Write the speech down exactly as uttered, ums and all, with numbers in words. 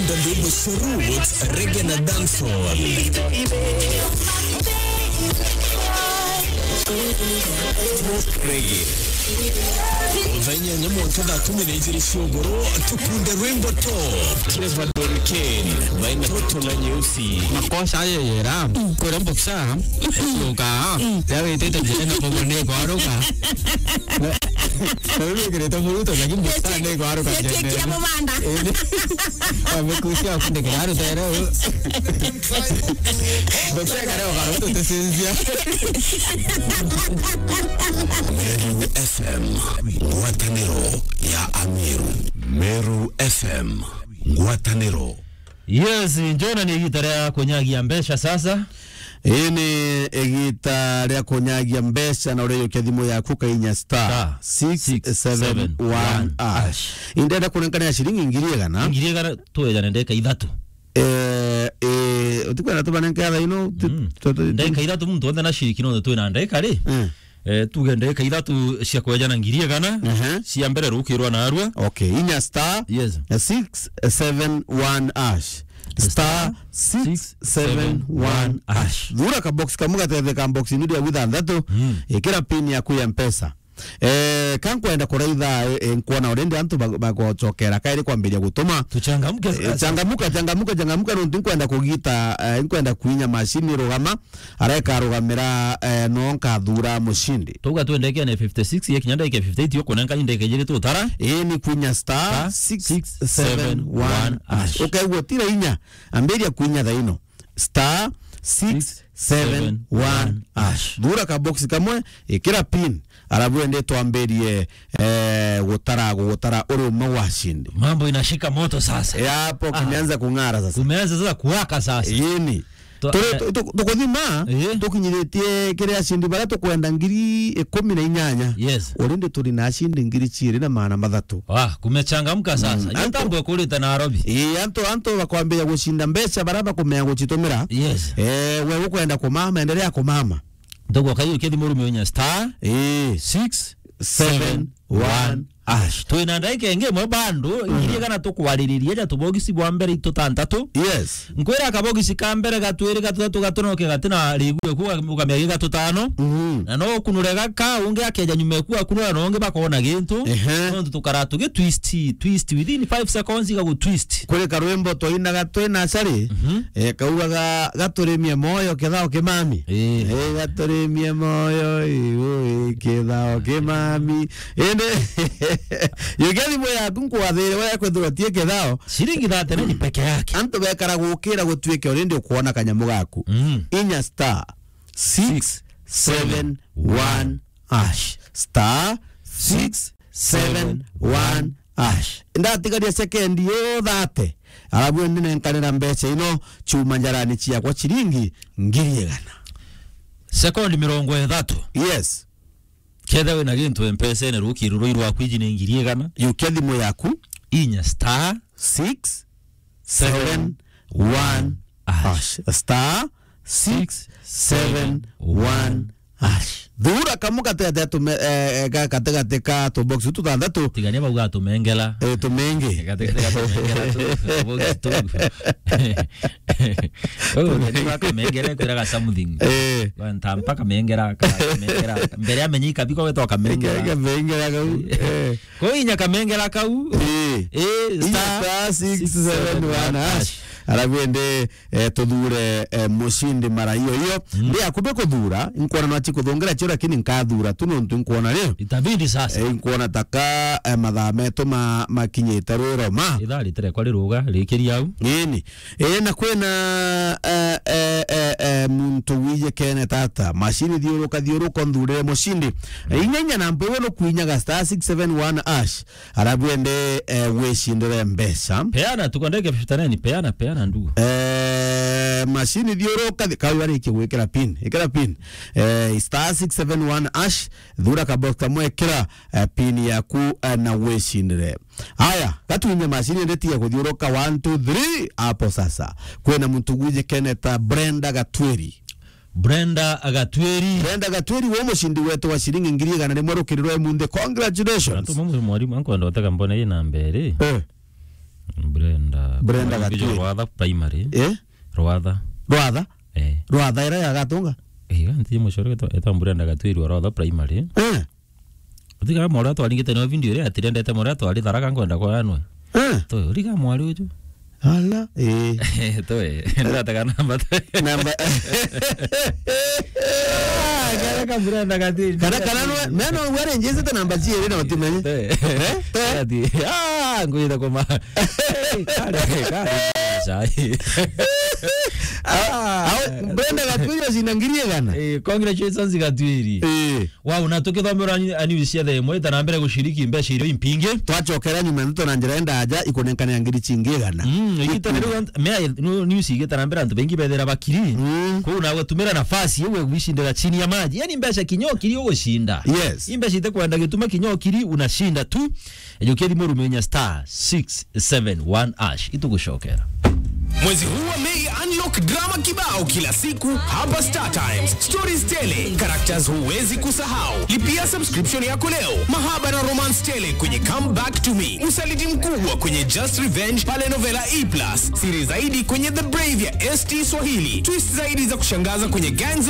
Ndwimbo cia roots, reggae na dancehall. Reggae. Thaa inyanya mwanka thaa kumi na ijiri cia ugoro, tukunde rwimbo top. Trevor Don Kane, baina toto na nyeusi. Makosa ayo yera, kwera mboksa, yoka, ya wetete njira na bobo ne kwaruka. Na, na wewe kireta muruto, lakini mboksa ne kwaruka. Yetekia mubanda. Amekusia kundekera rutere. Ndokeka leo kana tutesinzia. Meru F M, ngwataniro ya Ameru. Meru F M, ngwataniro. Yes, njona ni igita ria kunyagia mbeca sasa. Ii ni igita ria kunyagia mbeca na ureyokia thimu yaku kainya star six seven one hash. Indenda kunenkana ya shilingi ngiri igana. Ngiri igana twejane ndeka ithatu. Eh, eh, utikwenda tubanenke atha ino, tu-, Mm. tu-, tu-, tu- Ndeka ithatu muntu onthe na shiriki no twina ndeka ri? Eh. Eh, tuge ndeka ithatu cia kwejana ngiri igana, Ehe. cia mbere rukirwa narua. Okay, inya star Yes. six seven one hash. Star six seven one hash. Thura ka box kamwe gatetheka box ni ria withanthatu. Mm. Ikira pin yaku ya mpesa. Eh, ka nkwenda kuraitha, eh, eh, nkwona already antu ba-, bagocokera kairi kwambiria gutuma. Tuchangamke Eh, sasa. Changamuka, changamuka, changamuka, nontu nkwenda kugita, eh, nkwenda kwinya mashini rugama, areka rugamira, eh, no nkathura mushindi. Tuga twendeke ne fifty six, ye kinya ndeke fifty eight, yo kunenka indeke jiri tutara. Ii ni kwinya star Star six seven one hash. Ukaigua tira inya, ambiria kwinya thaino. Star six seven one hash. Thura ka box kamwe, ikira pin, arabu ende twambirie, eh, gutara, gutara uri umwe wa shindi. Mambo inashika moto sasa. Eh, hapo Ah. kimeanza kung'ara sasa. Kumeanza sasa kuwaka sasa. Yini. To-, Turi-, eh, tu-, tu-, tukuthima, Eh. tukinyiritie kiria shindi baria tukwenda ngiri ikumi na inyanya. Yes. Already turi na shindi ngiri ciiri na maana mathatu. Ah, kumechangamka sasa. Mm. Antu- Yotambwe kurita Nairobi. Ii, antu, antu bakwambia gucinda mbeca baria bakumenya gucitumira. Yes. Eh, we ukwenda kumama, endelea kumama. Ndogo kayo kithi murume unya star Ii. six seven one hash. Twina ndaika ingi imwe bando, Mm. ngiri igana tukwaririria ja tubogisi bwa mbere itutantatu. Yes. Nkwira kabogisi ka mbere, gatwiri, gatutatu, gatunoke gatina rigu eku, ukamenya gi gatutano. Mhm. Na no ukunure gaka, ungi akeja nyuma eku akunura, na ungi bakona gintu. Ehe. Nontu tukara tugi twist, twist within five seconds igagu twist. Kuri karwimbo twainaga twi nursery, Mhm. eh, kaugaga, "Gaturimie moyo kethao kimami." Eh. Eh, "Gaturimie moyo, iu, kethao kimami." Indi, yukia thimu yaku nkwathire we kwithirwa tie kethao. Ciringi thirty-nine peke yake. Antu bekara gukira gutuike already ukwona kanyamu gaku. Mm. Inya star six seven one hash. Star six seven one hash. Ndatigaria sekendi yo thirty. Arabu ndi nenkanira mbeca ino, chuma njarani ciakwa ciringi ngiri igana. Sekondi mirongo ithatu. Yes. Ketha wina gintu mpesene, rukiri rui rwaku iji ni ngiri igana. Yukia thimu yaku. Inya star six seven one hash. Star six seven one hash. Thura kamu gatigati tume-, eh, eh, ga-, gatigati ka tubox tuthanthatu. Tigania bau gatumengela. Eh, tumenge. Gatigati gatumengela tu, tubox tu. Wewe unajua kamengela kwiraga something. Eh. Kwa ntampa kamengela, ka-, kamengela. Mbere amenyika biko wetwa kamengela. Kamengela kau. Eh. Ko inya kamengela kau. Eh. Eh, Inya star six seven one hash. Arabu ende, eh, tuthure, eh, mushindi mara iyo iyo. Mm. Ndi akube kuthura, nkwona no achi kuthungira cio, lakini nkathura tu nontu nkwona ri. Itabidi sasa. Eh, nkwona taka, eh, mathaa metu ma-, makinyite rwiroma. Ithaa ritire kwa riruga, rikiria au. Ini. Eh, na kwina, eh, eh, eh, eh, muntu wije kene tata. Mashini thiuruka, thiuruka, nthurire mushindi. Eh, inya inya na mpewe no kwinyaga star six seven one hash. Arabu ende, eh, wicindire mbeca. Peana tu kondeke fifty nine, peana, peana ndugu. Eh, mashini thiuruka, thi-, kau arikie gwikira pin. Ikira pin. Eh, star six seven one hash, thura ka box kamwe, ikira, eh, pin yaku, eh, na wicindire. Aya, gatwinye mashini ende tiga kuthiuruka, one, two, three, hapo sasa. Kwina muntu gwiji keneta Brenda Gatwiri. Brenda Gatwiri. Brenda Gatwiri, wo mushindi wetu wa shilingi ngiri igana rimwe rukiri rwa emunthi. Congratulations. Antu mamwe mwarimu ankwenda utega mbona ii namba iri. Eh. Brenda. Brenda Brenda Gatwiri. Rwatha Primary. Eh? Rwatha. Rwatha? Eh. Rwatha ira ya Gatunga? Eh, iga nti mucore etwa, etwa Brenda Gatwiri wa Rwatha Primary. Eh. Utiga mora twaringite no video ria atirendete mora twari Tharaka nkwenda kwa yanwe. Eh. To, uriga mwari uju. Ala, eh. Toe, ndatega namba toe. Namba. Ah, kara ka Brenda Gatwiri. Kana, kana no, me no ware njizite namba ciiri na utumenye. Toe. Eh? Toe. Ati, ah, ngwira kuma. Kare, kare. Chai. Ah, ah, Brenda Gatwiri ocinda ngiri igana. Eh, congratulations Gatwiri. Eh. Wow, na tukithomera ni-, a news cia thaa imwe, ita na mbere guciriki mbeca irio impingi. Twacokera nyuma ndeto na njira enda aja ikunenkane ya ngiri cingi igana. Mm, igita na riu ant-, mea, nu-, news igita na mbere antu bengi bethira bakiri. Mm. Kuu nawe tumira nafasi iwe gwicindira chini ya maji. Yani mbeca kinya ukiri ugucinda. Yes. I mbeca ite kwenda gituma kinya ukiri unashinda tu. Ejukia thimu rumenya star six seven one hash. Itugucokera. Mwezi huu wa Mei, unlock drama kibao kila siku hapa Star Times. Stories tele, characters huwezi kusahau. Lipia subscription yako leo. Mahaba na romance tele kwenye Come Back to Me. Usaliti mkubwa kwenye Just Revenge pale Novela E plus. Siri zaidi kwenye The Brave ya S T Swahili. Twist zaidi za kushangaza kwenye Gangs